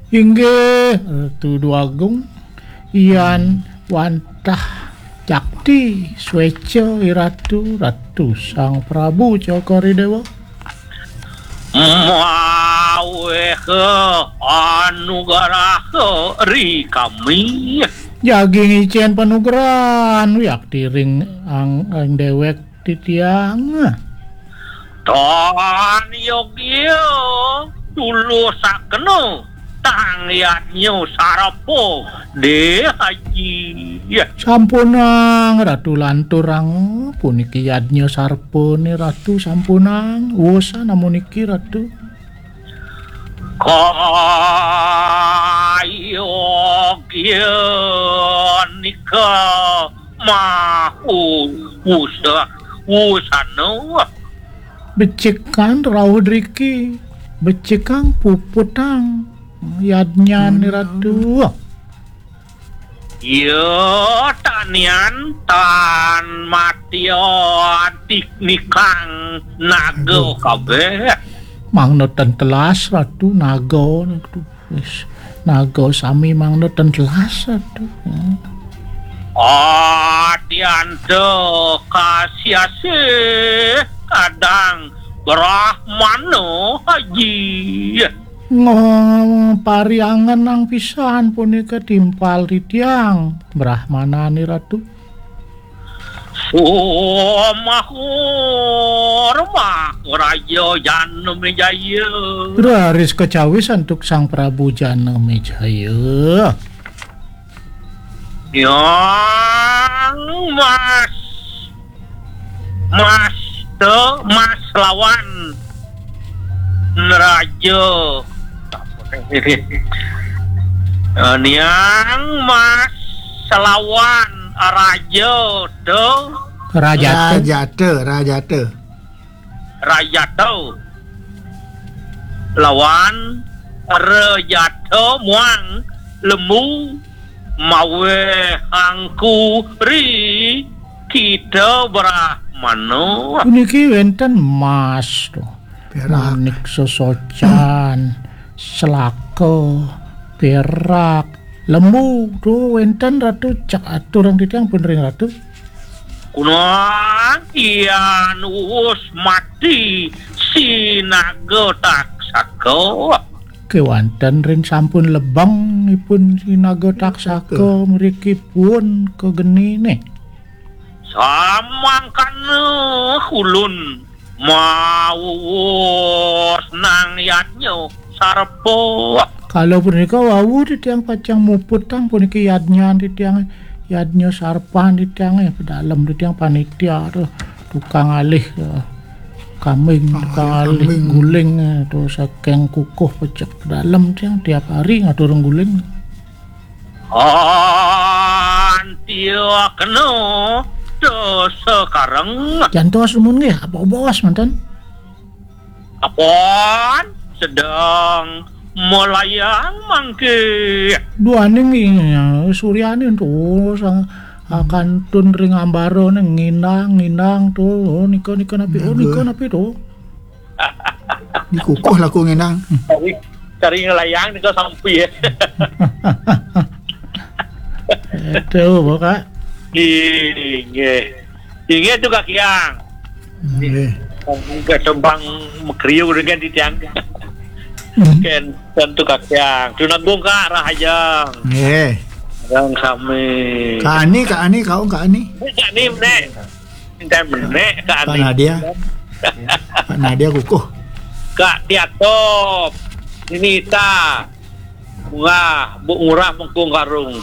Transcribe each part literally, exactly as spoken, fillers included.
Inggih, Ratu Dwagung, yan wantah cakti, sweca i Ratu, Ratu Sang Prabu Cokor i Dewa. Maweh anugerah ri kami. Jagi ngicen panugrahan, wiakti ring ang, ang dewek titiang. Tan yogya tulusakna tang yadnya sarpa, deh Haji. Sampunang Ratu lanturang puniki yadnya sarpane Ratu, sampunang. Wusan amuniki Ratu. Kayogya nika mahu wusa-, wusana. Becikan rauh driki, becikang puputang yadnyan Ratu. Ya, tanian tan matya dik nikang naga kabeh. Mangda ten telas Ratu, naga Ratu. Wis, naga sami mangda ten telas Ratu. Hmm. Atyanta kasiasih kadang Brahmana Haji. Ngo-, pariangenang pisan punika timpal titiang, Brahmanane Ratu. Sumahur Maharaja Janamejaya. Raris kacawis antuk Sang Prabu Janamejaya. Yang Mas, Mas te, Mas lawan Raja. Eh, Niang Mas lawan Raja te. Rajata. Rajata, Rajata. Rajata. Lawan Rajata muang Lembu maweh angku ri kita Brahmana. Puniki wenten mas to. Perak. Manik sesocan, selaka, perak, lembu. To wenten Ratu, cak aturang titiang pun ring Ratu. Kunang yan wus mati si naga taksaka. Kewanten rin sampun lebeng ipun si naga taksaka mriki pun kagenine. Samangkana ulun mawus nang yadnya sarpa. Kalau punika wau titiang pacang muputang puniki yadnyan titiang, yadnya sarpan titiang, eh, pedalem titiang panitia to, tukang alih, eh, kambing, tukang alih kambing. Guling, eh, to saking kukuh pecek pedalem tiang tiap hari ngatur guling. Antiakna to sekareng. Jantos dumun nggih, apa bos manten? Apon sedang melayang mangke. Duaning ing suryane to sang, ah, kantun ring ambara ne nginang, nginang to. Oh, nika, nika napi? Oh, nika napi to? Dikukuh laku nginang. Cari, cari ngelayang nika sampi ya. Itu, Kak. Inggih. Inggih tu Kak Kiang. Nggih. Enggak tembang mekriu dengan titiang. Hmm. Ken tentu Kak Kiang. Tunanggung Kak Rahajeng. Nggih. Yang sami. Kak Ani, Kak Ani, kau Kak Ani. Kak Ani menek. Minta menek Kak Ani. Kak Nadia. Kak Nadia kukuh. Kak Tiatop. Nita. Ngurah, Bu Ngurah Mengkung Karung.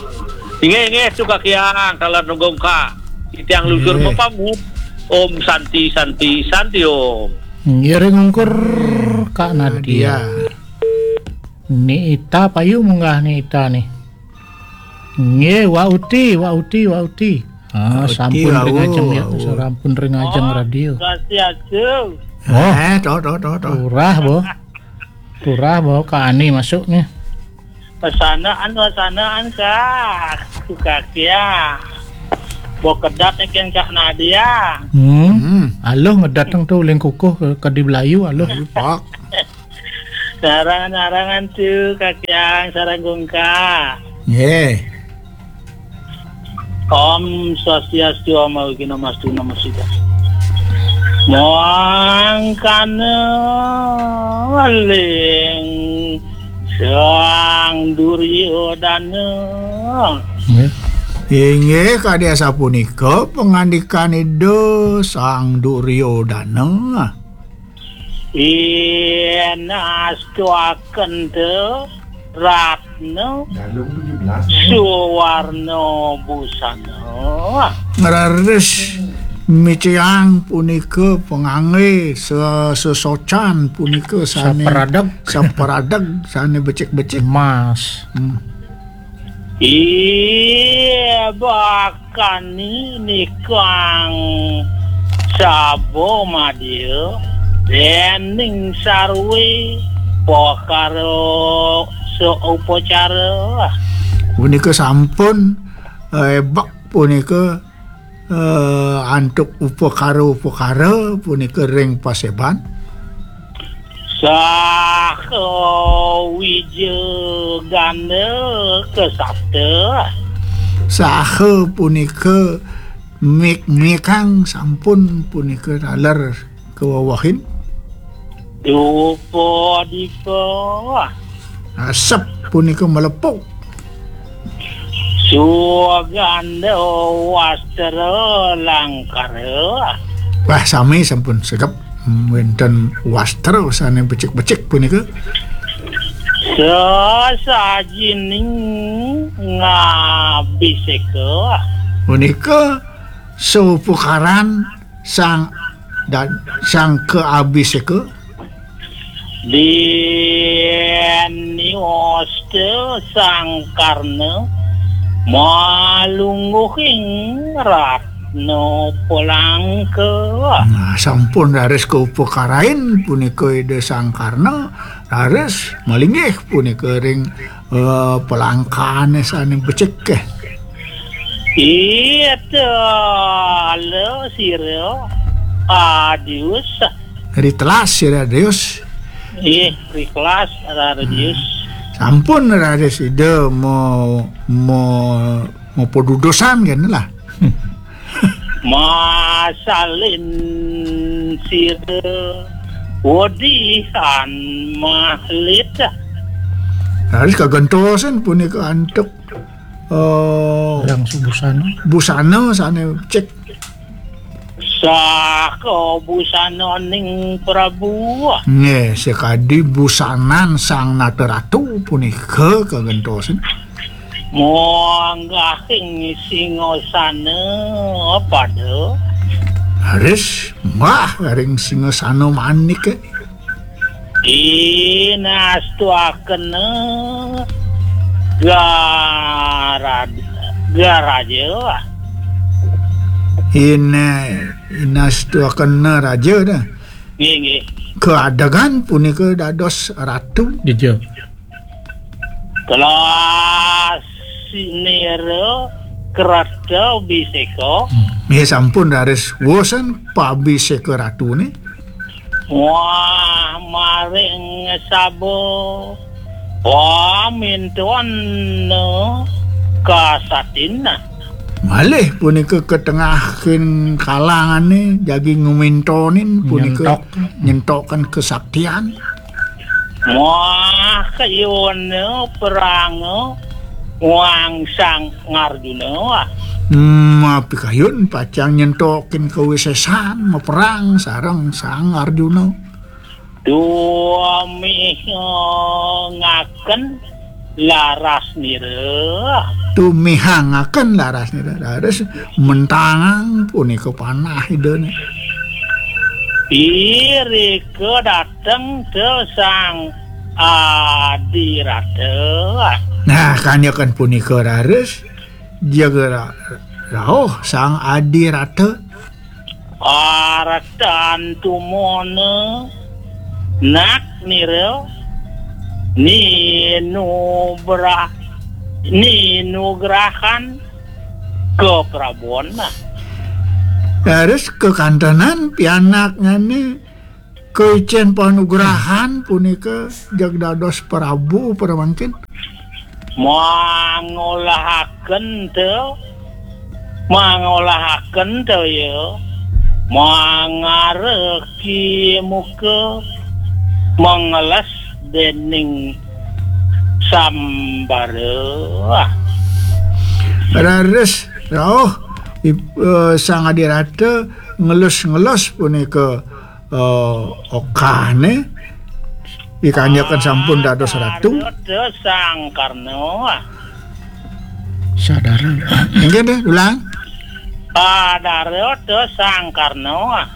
Inggih, inggih, suka kiang, kala nunggong ka. Titiang luncur mapamit. Om Santi, Santi, Santi Om. Ngiring ungkur Kak Nadia. Nadia. Ni Ita payu munggah ni Ita ni. Nggih, Wa Uti, Wa Uti, Wa Uti. Ah, Wa Uti, sampun ring ajeng ya, sampun ring ajeng radio. Kasih aja. Oh. Eh, to, to, to, to. Turah, Bo. Turah, Bo, Kak Ani masuk nih. Pasanaan, pasanaan, Kak. Suka kia. Bo kedat nih, Kak Nadia. Hmm. Hmm. Aluh ngedat nang tu, uling kukuh ke, ke di Belayu, aluh. Pak. Sareng-sareng Antu, Kakyang, sareng Gungka. Nggih. Om Swastiastu, Om Awighnamastu, Namo Siddham. Mangkana weling Sang Duryodana. Nggih. Inggih, kadi asapunika pangandikan Ida Sang Duryodana. Yen astuaken te Ratna Galung tujuh belas, ya. Suwarna busana. Raris micayang punika pangangge se-, sesocan punika sane saperadeg. Saperadeg, sane becik-becik. Emas. Hmm. Iya, bakani nikang saba madya dening sarwe pakara saupacara. Punika sampun, eh, ebak punika, eh, antuk upakara-upakara punika ring paseban. Saha wija ganda kasapta. Saha punika mik-mikang sampun punika taler kawewehin. Dupa dipa. Asep punika melepuh. Suganda wastra langkara. Wah, sami sampun segep, hmm, wenten wastra sane becik-becik punika. Sesajining ngabiseka. Punika saupukaran sang dan sang kaabiseka. Dini wasta Sang Karna malungguhing Ratna Palangka. Nah, sampun raris kaupakarain punika Ida Sang Karna, raris malinggih punika ring, eh, palangkane sane becik, eh. Ita ala sira Adius. Ritelas sira Adius. Nggih, ritelas Adius. Hmm. Sampun raris Ida mo-, mo-, mapadudusan kene lah. Masalin sira wedihan mahlit. Raris kagentosan punika antuk, eh, yang busana. Busana sane cek. Saka busananing Prabu. Nggih, sakadi busanan Sang Nata Ratu punika kagentosan. Munggahing singasana pada. Raris munggah ring singasana manik. Inastuakena garad-, garaja. Ina-, inastuakena raja dah. Nggih, nggih. Kaadegan punika dados ratu. Dija. Telas nira krata biseka. Hmm. Nggih, sampun raris wusan pabiseka ratune. Wah, maring saba pamintuan kasatin. Malih punika katengahing kalangane jagi ngumintonin punika nyentok. Nyentokan kesaktian. Wah, kayuna perang wang Sang Arjuna. Hmm, apikayun pacang nyentokin kawisesan maperang sareng Sang Arjuna. Tumihangaken laras nira. Tumihangaken laras nira. Raris mentangang punika panah Idane. Irika dateng te Sang Adirata. Nah, kanyakan punika raris jaga ra-, rauh Sang Adirata. Aratan tumona nak nira ninubra-, ninugrahan kaprabon. Terus kekantenan pianaknyane Kaicén panugrahan punika jeg dados prabu pramangkin. Mangolahaken te, mangolahaken te ya, mangareki muka, mengeles dening sambara. Raris rauh ip-, eh, Sang Adirata ngelus-ngelus punika eh, okahne, wikanyaken sampun dados ratu. Adara Sang Karna. Sadara. Inggih deh, ulang. Adara Sang Karna.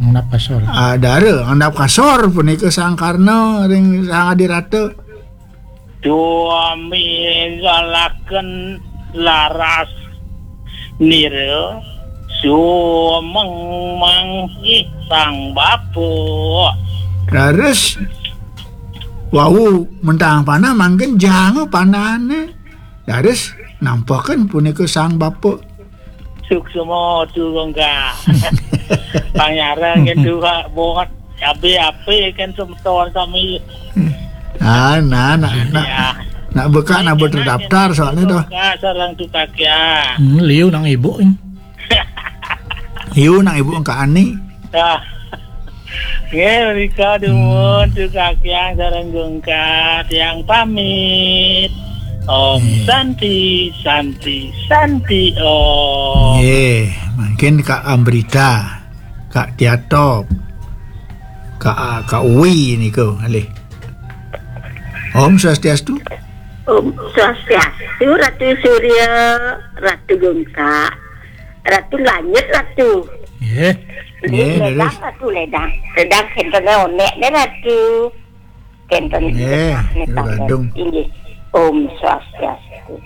Ngendap kasor. Adara, ngendap kasor punika Sang Karna ring Sang Adirata. Duami ngalaken laras nira sumeng manggih sang bapa. Raris wau mentang panah mangkin janga panahane. Raris nampaken punika sang bapa. Suksma tu, Gongka. Panyarang gitu, Kak. Buat abe-abe kan semeton sami. Ah, nah, nak, nak, ya, nak buka, nak buat terdaftar soalnya tuh. Gongka sareng tukak ya. Hmm, liu nang ibu, eh. Liu nang ibu engka ani. Ya. Nggih, menika dumun, hmm, tukak yang sareng Gongka, tiang pamit. Om, nggih, Santi, Santi, Santi, Om. Nggih, mangkin Kak Amrita, Kak Tiatop, Kak, Kak Uwi niku, ngalih. Om Swastiastu. Om Swastiastu, Ratu Surya, Ratu Gongka, Ratu Langit, Ratu. Nggih. Nggih, nggih, ledang, leres. Ratu, ledang. Ledang kenten onek ne, Ratu. Kenten, nggih, ledang, ledang. Inggih. Om Swastiastu.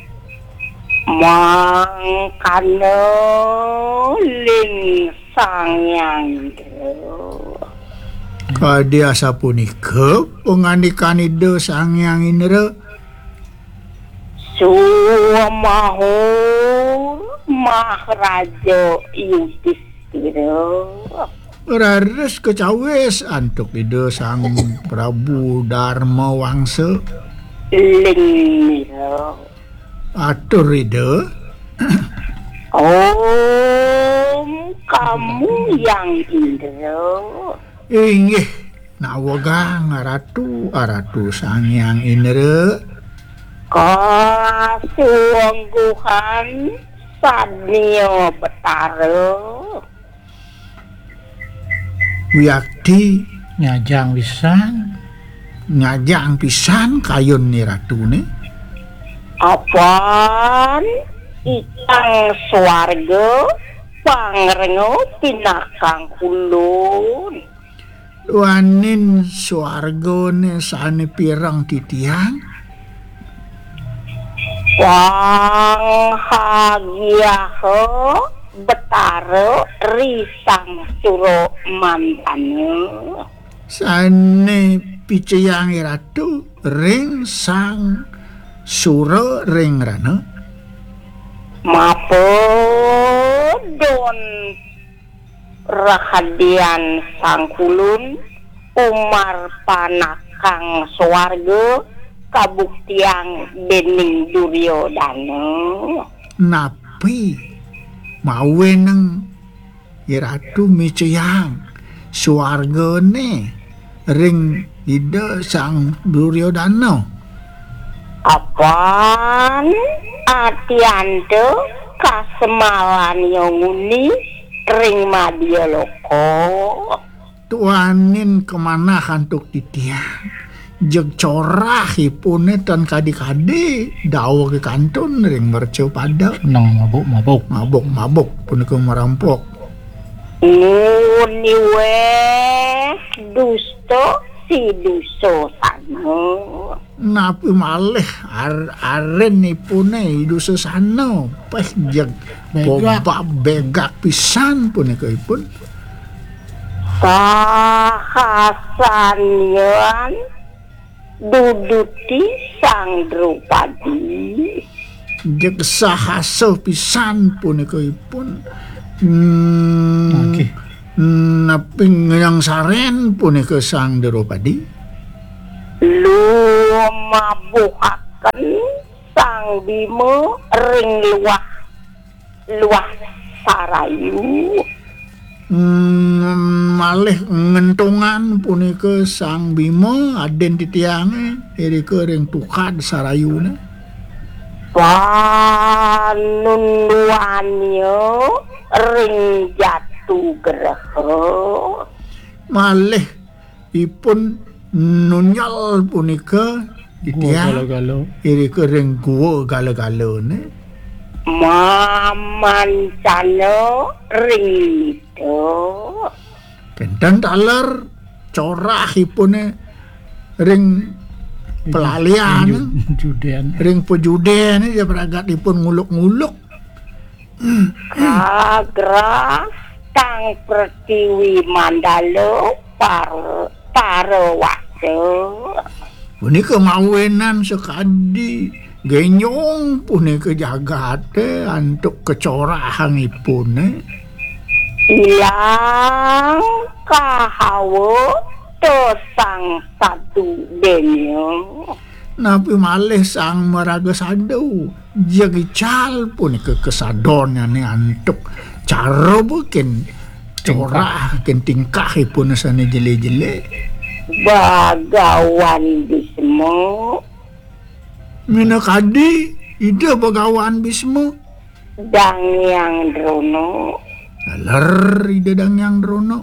Mangkana ling Sang Hyang Indra. Kadi asapunika pangandikan Ida Sang Hyang Indra. Sumahur Maharaja Yudhistira. Raris kacawis antuk Ida Sang Prabu Darma Wangsa. Ling Mira. Atur Ida. Om kamu Yang Indra. Inggih, nawegang Ratu, Ratu Sang Hyang Indra. Kasungguhan sania betara. Wiakti. Nyajang pisan. Nyajang pisan kayun ni Ratu ni. Apan ikang swarga pangrenga pinakang kulun. Duaning swargane sane pireng titiang. Panghagiaha Betara ri Sang Sura Mandana. Sane picayang Ratu ring Sang Sura ring rana. Mapedon rahadian Sang Kulun umar panakang swarga kabuktiang dening Duryodana. Napi mawenang Iratu micayang swargane ring Ida Sang Duryodana. Apan atianta kasemalan nguni ring madya loka. Tuanin kamanah antuk titiang. Jeg corahipune tan kadi-kadi daweg kantun ring mercapada. Nang mabuk-mabuk. Mabuk-mabuk punika marampok. Nguni weh dusta si Dusasana. Napi malih ar-, arenipune Dusasana? Peh jeg begak. Pobab begak pisan punika ipun. Sahasanian duduti Sang Drupadi. Jeg sahasa pisan punika ipun. Hmm. Nggih. Napi ngangsaren punika Sang Drupadi? Lumabuhaken Sang Bima ring luah, luah sarayu. Hmm, malih ngentungan punika Sang Bima, adin titiange, irika ring tukad sarayune. Panunduannya ring jatu greha. Malih ipun nunjal punika titiang, gua gala-gala, irika ring gua gala-galane. Mamancana ring nita. Kenten taler corahipune ring pelalian, pejuden. Ring pejuden, ya, pragatipun nguluk-nguluk. Kagrah tang pretiwi mandala par-, parawasa. Punika mawinan sakadi genjong punika jagate antuk kacorahangipune. Ilang kahawa to sang sadu denya. Napi malih sang maraga sadu? Jeg ical punika kasadonnyane antuk cara bukin corah, ken tingkahipun sane jele-jele. Bagawan Bisma. Minakadi Ida Bagawan Bisma. Dang Hyang Drona. Taler Ida Dang Hyang Drona.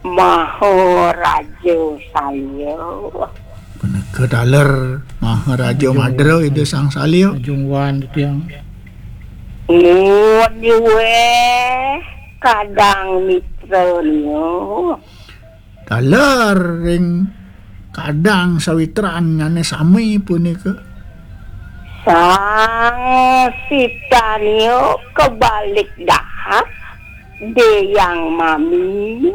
Maharaja Salya. Punika taler Maharaja Madra Ida Sang Salya. Ajung wan titiang. Nuwun iweh kadang mitranya. Taler ring kadang sawitranyane sami punika. Sang sitanya kebalik dahak, Dang Hyang Mami.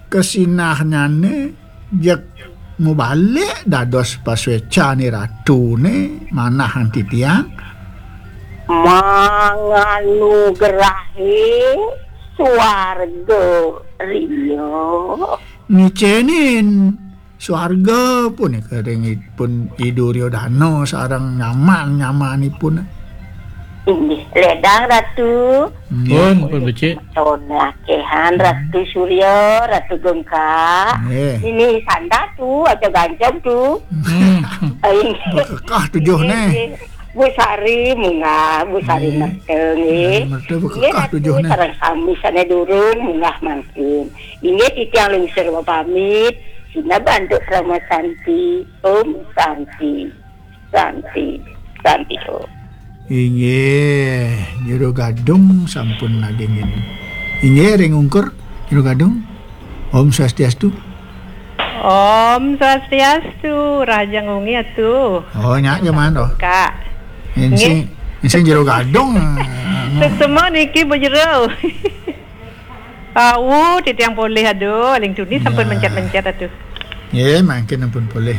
Kesinahnyane jeg mubalik dados paswecane ratune manah anti tiang. Manganugrahi swarga riya. Ngicenin swarga punika ring ipun I Duryodana sareng nyaman-nyamanipun. Inggih, ledang Ratu. Nggih. Pun, pun becik. Ton lakehan Ratu Surya, Ratu Gengka. Nggih. Ini sanda tu, aja gancang tu. Hmm. Ai. Bekekah tujuh neh. Nggih. Bu Sari munggah, Bu Sari. Nggih. Merta nggih. Sari merta bekekah. Nggih, Ratu tujuh neh. Sareng sami sane durung munggah mangkin. Inggih titiang lungsur pamit. Sineb antuk Parama Santi. Om Santi. Santi. Santi Om. Inggih, Jero Gadung sampun nagingin. Inggih, ring ungkur, Jero Gadung. Om Swastiastu. Om Swastiastu, rahajeng wengi atu. Oh, nyak jaman to. Kak. Ensing, nggih. Ensing Jero Gadung. Suksma niki Bu Jero. Awu, titiang polih, aduh, aling tuni sampun. Ya. Mencet-mencet, aduh. Nggih, mangkin ampun polih.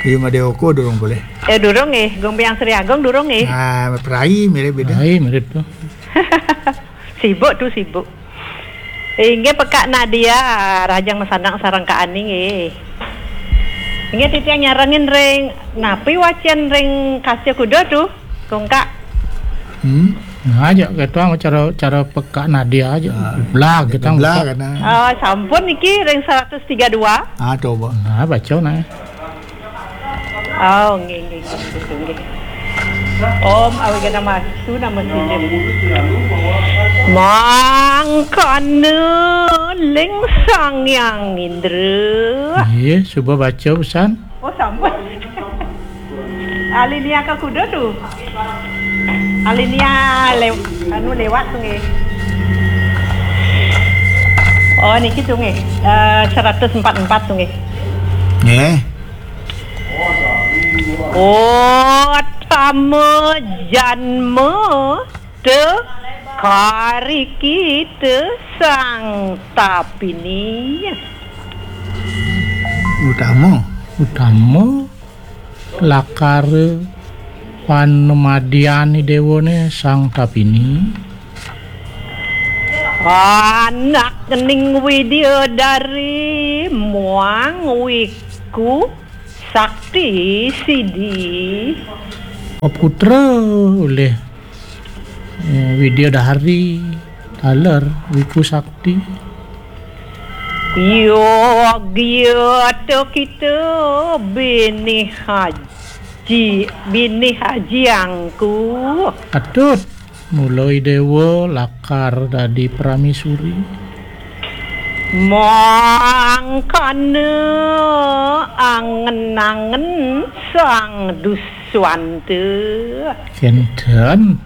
Iya Madewoko durung polih. Eh, durung nggih, Gung Biang Sri Agung durung nggih. Ah, prai mirip beda. Prai mirip tu. Sibuk tu, sibuk. Inggih Pekak Nadia, rahajeng masanang sareng Kak Ani nggih. Inggih titiang nyarengin ring, napi wacen ring Kasya Kuda tu? Kongkak. Hmm. Nah, aja kita cara, cara Pekak Nadia aja. Ah, blag kita blag blag. Kena. Ah, sampun niki ring seratus tiga dua. Ah, coba. Nah, baca nah. Oh, nggih, nggih, nggih, nggih, nggih. Om Awighnam Astu Namo Siddham. Mangkana ling Sang Hyang Indra. Nggih, suba baca pesan. Oh, sampun. Alinéa ka kuda tu. Alinéa lew-, anu lewat tu nggih. Oh, niki tu nggih. Eh, seratus empat empat tu nggih. Nggih. Utama janma te karikita Sang Tapini. Utama. Utama lakara panamadian Idéwané Sang Tapini. Anak ning Widyadari muang Wiku Sakti sidi. Putra oleh, eh, Widyadari taler Wiku Sakti. Yogya to kita bini haji, bini haji angku. Atut. Mula Dewa lakar dadi pramesuri. Mangkana angen-angen Sang Duswanta. Kenten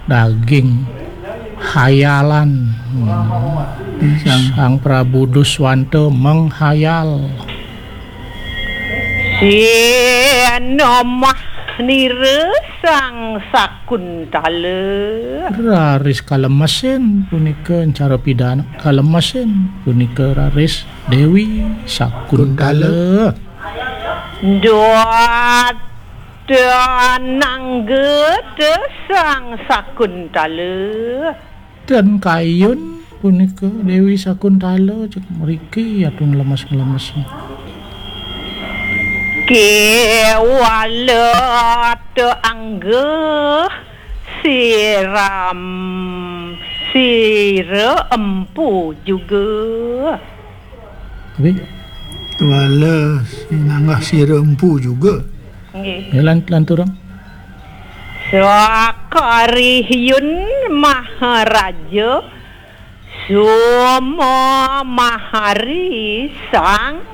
daging hayalan. Hmm. Sang Sang Prabu Duswanta menghayal. Sinomah nira Sang Sakuntala. Raris kalemesin punika encara pidana. Kalemesin punika raris Dewi Sakuntala. Dot anangga te Sang Sakuntala. Dan kayun punika Dewi Sakuntala cek mriki atun lemes-lemes. Kewala te angga siram sira empu juga. Tapi wala sinanggah sira empu juga. Nggih. Ya, lan-, lanturang. Sakarihiyun Maharaja Suma Mahari Sang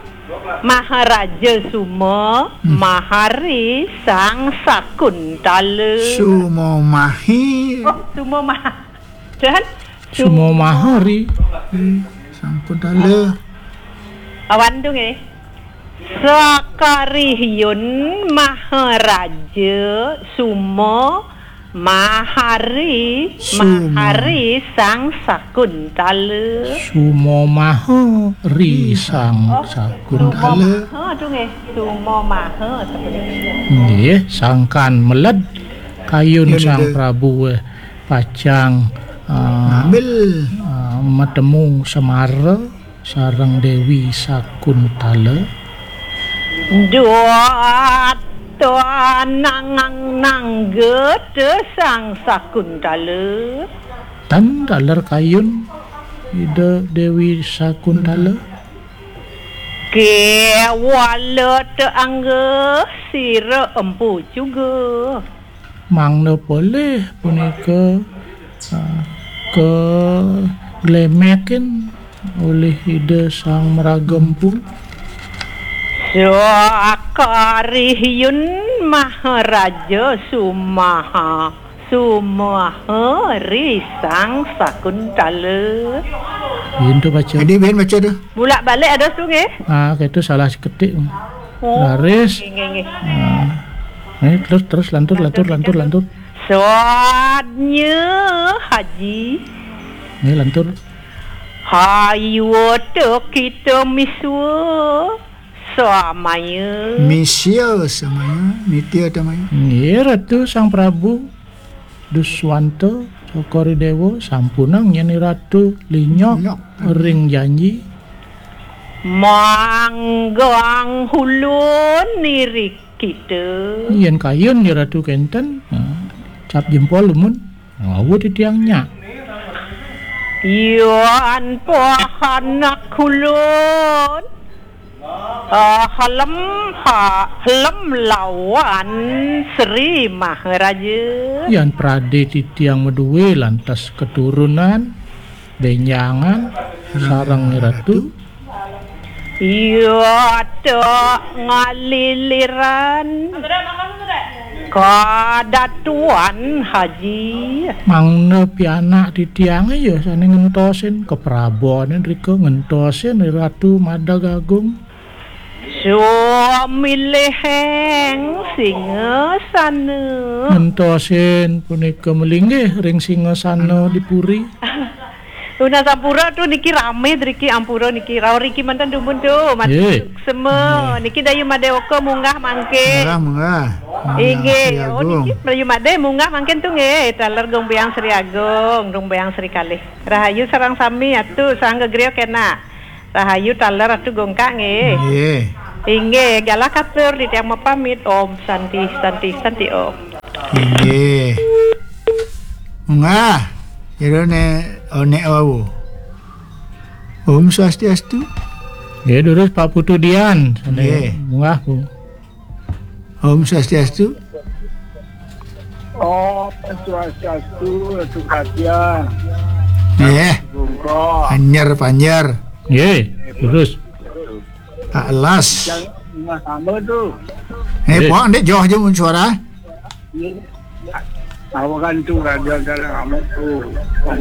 Maharaja Suma Hmm. Mahari Sang Sakuntala. Sumo Mahi. Oh, Suma Mah-, dan Sumo Mahari. Hmm, Sakuntala. Awan tu nggih. Sakarihiyun Maharaja Suma Mahari Suma. Mahari Sang Sakuntala. Sumo Mahari Sang Oh, Sakuntala. Sumo Maha tu nggih. Sumo Maha sebenarnya. Nggih, sangkan meled kayun Ya, Sang betul. Prabu, eh, pacang, eh, Ngambil. Eh, matemu semara sareng Dewi Sakuntala. Duat nangang nangga te Sang Sakuntala. Tan taler kayun Ida Dewi Sakuntala. Kewala te angga sira empu juga. Mangda polih punika, ah, kaglemekin olih Ida Sang Maraga Empu. Sakarihiyun Maharaja Sumaha, Sumaha ri Sang Sakuntala. Yen tu baca. Adi, ben baca tu. Bulak balik ada tu nggih. Ah, itu salah seketik. Oh, Laris. Nggih, nggih, nggih. Ah. Eh, terus, terus lantur, lantur, lantur, lantur. Soalnya Haji. Ini lantur. Hayuta kita miswa samaya. Misya samaya, nitya tamaya. Nggih, Ratu Sang Prabu Duswanta Cokor Dewa sampunang yen Ratu linyok Linyok. Ring janji. Manggang hulun nirik kita. Yen kayun ya Ratu kenten, nah, cap jempol lumun. Ngawu titiang nyak. Yan pahanak hulun. Ah, helem ha, helem lawan Sri Maharaja. Yan prade titiang maduwe lantas keturunan, benjangan, sareng Ratu. Iya, tok ngaliliran. Kadatuan Haji. Mangda pianak titiange ya sane ngentosin keprabone rika ngentosin Ratu Madag Agung. Sumiliheng singasana. Ngentosin punika melinggih ring singasana di puri. Tunas ampura tu niki rame driki ampura niki. Rau riki mantan dumun tu. Mati Nggih. Suksema. Nggih. Niki dayu madai oka munggah mangke. Munggah, munggah. Munggah, Inggih. Sri Oh, Agung. Niki dayu madai munggah mangke tu nggih. Taler Gong Biang Sri Agung, Gong Biang Sri Kalih. Rahayu sareng sami atu, sareng gegriya kena. Rahayu taler atu Gongkak nggih. Nggih. Inggih, galah katur titiang mapamit. Om Santi, Santi, Santi Om. Inggih. Munggah. Ira ne onek wau. Om Swastiastu. Nggih, durus Pak Putu Dian. Nggih. Munggah, Bu. Om Swastiastu. Om Swastiastu, Ratu Katia. Nggih. Bungkok. Panjer, panjer. Nggih, durus. Tak las. Yang sama tu. Eh, Nggih. Puak, ndik joh je mun suara. Awakan tu raja dalam amat tu.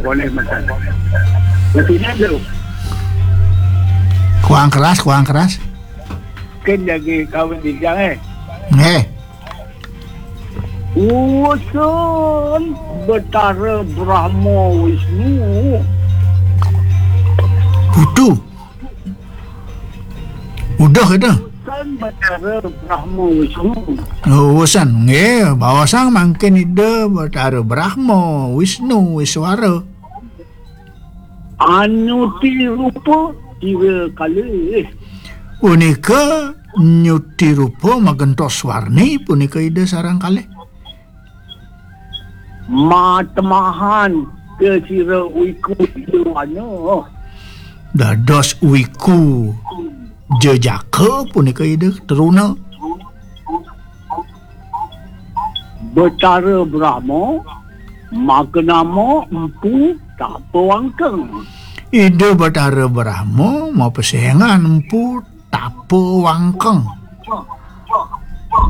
Boleh macam. Betina tu. Kurang keras, kurang keras. Kan jaga kawin bidang, eh. Eh. Urusan Betara Brahma Wisnu. Putu. Udah kata. Urusan Betara Brahma Wisnu. Oh, urusan. Nggih, bawasang mangkin Ida Betara Brahma, Wisnu, Iswara. Anyuti rupa sira kalih. Punika nyuti rupa magentos warni punika Ida sareng kalih. Matemahan ke sira wiku Ida wana. Dados wiku jejaka punika Ida teruna. Betara Brahma, maka nama Empu Tapawangkeng. Ida Betara Brahma mapesengan Empu Tapawangkeng.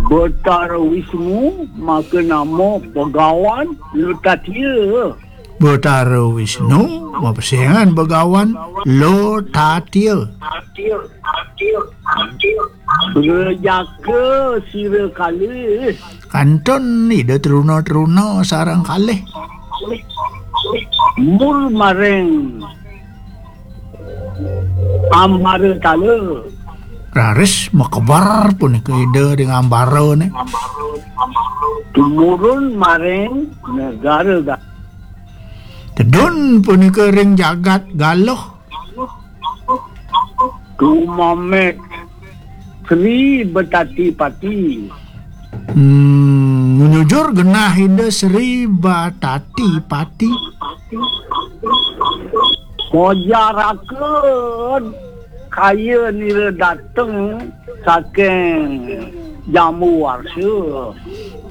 Betara Wisnu, maka nama Begawan Lutatia. Betara Wisnu, mapesengan Begawan Lutatia. Rejaka sira kalih. Kantun Ida teruna-teruna sareng kalih. Mur maring Ambara Tala. Raris makeber punika Ida ring ambarane. Tumurun maring negara Ga-, Tedun punika ring jagat Galuh. Tumameh Sri Betati Pati. Hmm, menyujur genah Ida Sri Batati Pati. Kojaraken kaya nira dateng saking Jambu Warsa.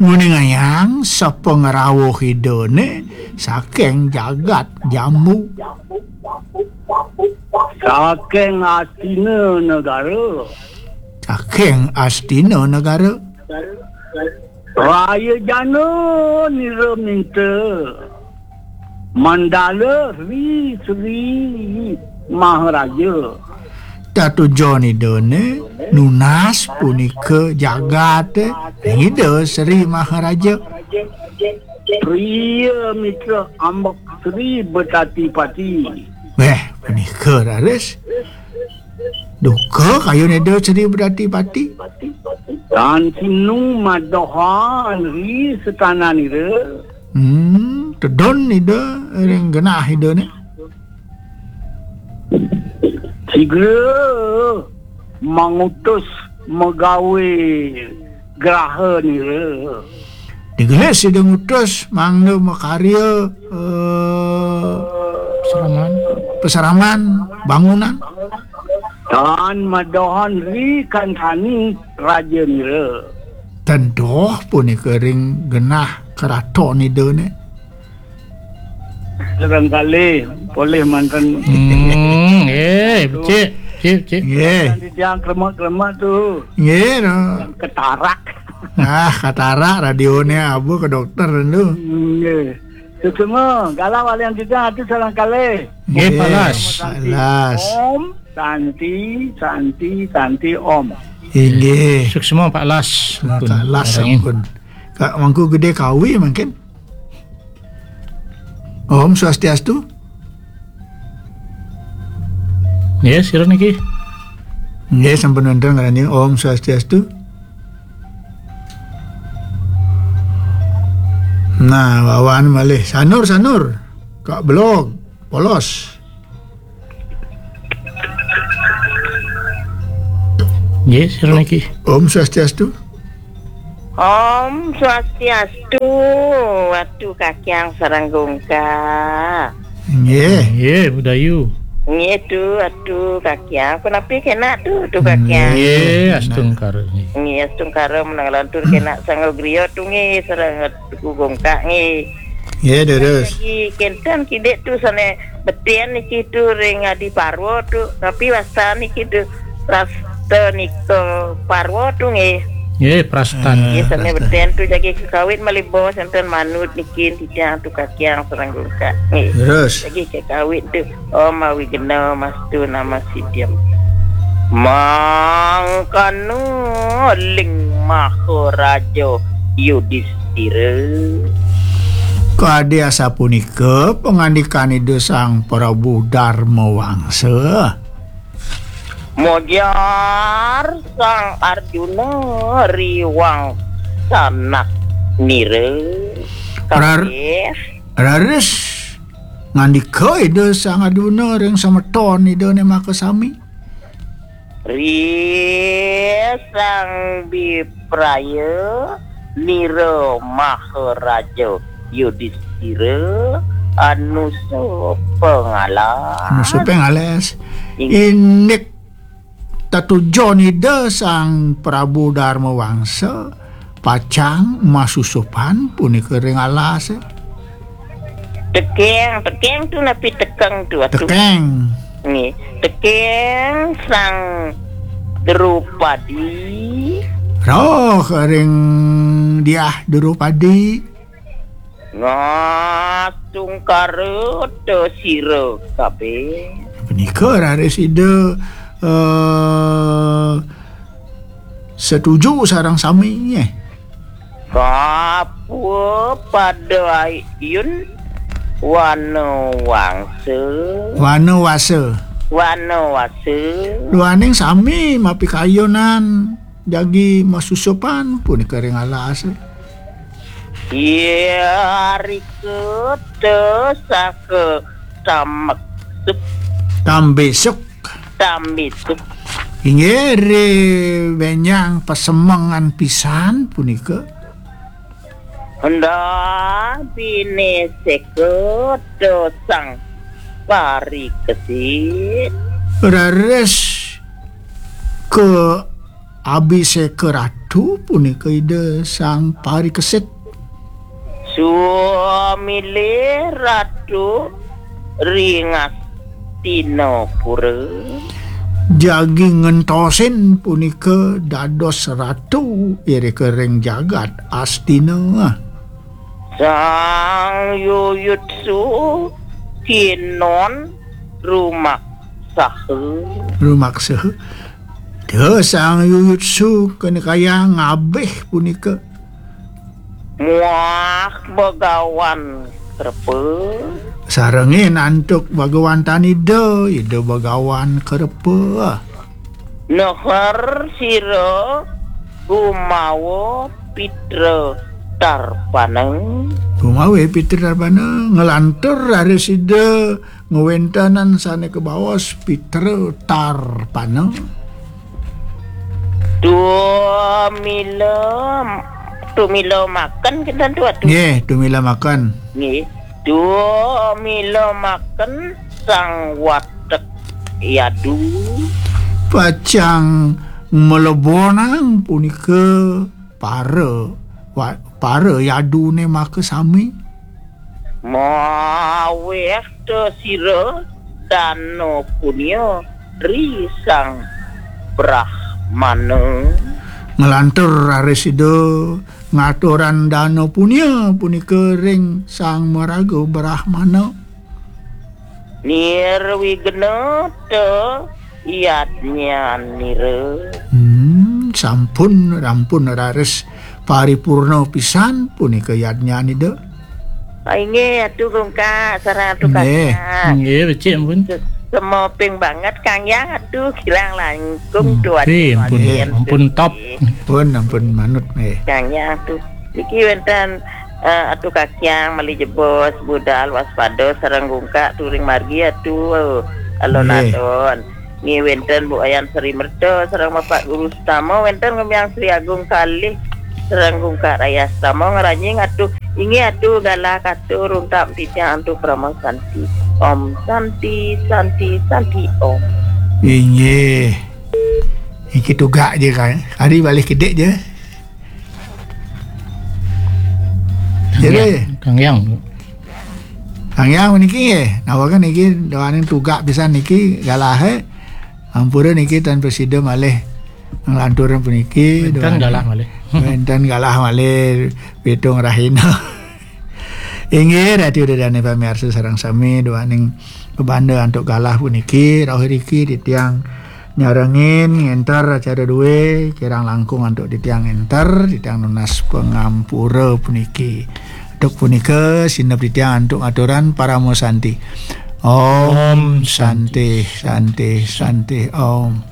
Nguningayang sapangrauh Idane saking jagat Jambu. Saking Astina Negara. Saking Astina Negara. Raya jana nira minta. Mandala Sri Sri Maharaja. Tatujon Idane nunas punika jagate Ida Sri Maharaja. Priya mitra ambek Sri Betati Pati. Weh, punika raris. Duka kayun Ida Sri Betati Pati. Tan sinu madohan ri setananira. Hmm, tedun Ida ring genah Idane. Sigra mangutus magawe graha nira. Digelis Ida ngutus mangda makarya, eh, Seraman. Peseraman bangunan. Tan madohan ri kantani raja nira. Tan doh punika ring genah keraton Idane. Sareng kalih polih manten. Hmm, eh, becik, becik, becik. Nggih. Manten titiang klemak-klemak tu. Nggih, no. Ketarak. Ah, ketarak radione abu ke dokter tu. Nggih. Suksma, galah walian titiang atu sareng kalih. Nggih, Nggih, palas. Palas. Om Santi, Santi, Santi Om. Inggih. Suksma, Pak Las. Nah, Pak Las, Barangin. Ampun. Kak Mangku Gede Kawi mungkin. Om Swastiastu. Nggih, sira niki. Nggih, sampun wonten ngranjing. Om Swastiastu. Nah, wawan malih. Sanur, Sanur. Kak Belog, polos. Nggih, sira niki. Om Swastiastu. Om Swastiastu, Watu Kakyang sareng Gungka. Nggih. Nggih, Budayu. Nggih, Tu, Watu Kakyang. Punapi kenak, Tu, Tu Kakyang? Nggih, astungkara nggih. Nggih, astungkara menang lantur kenak sangga griya, Tu, nggih, sareng Tuku Gungka nggih. Nggih, terus. Lagi kenten kidik, Tu, sane beten niki, Tu, ring Adi Parwa, Tu. Tapi wasta niki, Tu, Prasta nika Parwa, Tu, nggih. Nggih, prastan. Nggih, sane beten, Tu, jagi kekawit malih bos enten manut niki titiang, Tu Kakyang sareng Gungka. Nggih. Terus. Jagi kekawit, Tu. Om Awigna Mastu Nama Siddham. Mangkana ling Maharaja Yudistira. Kadi asapunika pangandikan Ida Sang Prabu Darma Wangsa. Mojar Sang Arjuna riwang sanak nira. Rar-, Kabeh. Raris ngandika Ida Sang Arjuna ring semeton Ida ne makasami. Ri Sang Bipraya nira Maharaja Yudistira anusa pangales. Anusa pangales. Ing- Indik tetujon Ida Sang Prabu Darma Wangsa pacang masusupan punika ring alas. Tekeng, tekeng, Tu, napi tekeng, Tu, Watu? Tekeng. Nggih. Tekeng Sang Drupadi. Roh ring Diah Drupadi. Ngasungkara ta sira kabeh. Punika raris Ida, eh, setuju sareng sami, nggih. Kapua pada ayun wana wangsa. Wana wasa. Wana wasa. Duaning sami mapikayunan jagi masusupan punika ring alas. Yarika ta saka tambesuk. Tambesuk. Tambesuk. Inggih, ri benjang pasemengan pisan punika. Henda bine seka ta sang parikesit. Raris ka abiseka ratu punika Ida Sang Parikesit. Swamilih ratu ring Astinapura. Jagi ngentosin punika dados ratu irika ring jagat Astina. Sang Yuyutsu kinon rumaksaha. Rumaksaha. Duh, Sang Yuyutsu kena kaya ngabih punika. Muah Bagawan Krepa. Sarengin antuk Bagawan Tanida, Ida Bagawan Krepa. Neher sira gumawa pitra tarpana. Gumawa pitra tarpana, nglantur raris Ida ngwéntenan sané kabaos pitra tarpana. Tumila, tumila makan kinten tu, Watu. Nggih, tumila makan. Nggih. Tumila makan Sang Watek Yadu. Pacang mlebonang punika para wa-, para yaduné makasami. Mawéh ta sira dana punia ri Sang Brahmana. Nglantur raris Ida ngaturang dana punia punika ring Sang Maraga Brahmana. Nirwigna ta yadnyanira. Hmm, sampun, rampun raris paripurna pisan punika yadnyanida. Ah, inggih, Atu Gungkak, sareng Atu Nggih. Kakang. Nggih, becik ampun. Semoping banget Kang Yang, aduh, kirang langkung. Hmm. Tuan. Eh, ampun, Tuan. Ampun, top. Ampun, ampun manut, eh. Kang Yang tuh. Niki wénten, eh, Atu Kakyang, malih jebos, budal, waspada, sareng gungkak, turing margi, atu, alon-alon. Nggih, wénten Bu Ayan Sri Merta, sareng Bapak Guru Sutama, wénten Ngumyang Sri Agung kalih, sareng gungkak rayas tama ngranjing, atu, inggih, atu, galah katur, untak titiang antuk parama santi. Om Santi, Santi, Santi, Om. Inggih. Niki tugak je, kan. Ari balih kidik je. Jadi, Kang Yang. Kang Yang niki nggih. Nawakan niki doaning tugak pisan niki galah, eh. Ampura niki tan prasida malih nglanturan puniki. Wénten doaning galah malih. Wénten galah malih pitung rahina. Inggih, Ratu Dedane pamiarsa sareng sami, doaning pabanda antuk galah puniki, rauh riki titiang nyarengin ngénter acara dué, kirang langkung antuk titiang ngénter, titiang nunas pangampura puniki. Antuk punika, sineb titiang antuk ngaturan parama santi. Om Santi, Santi, Santi, Om.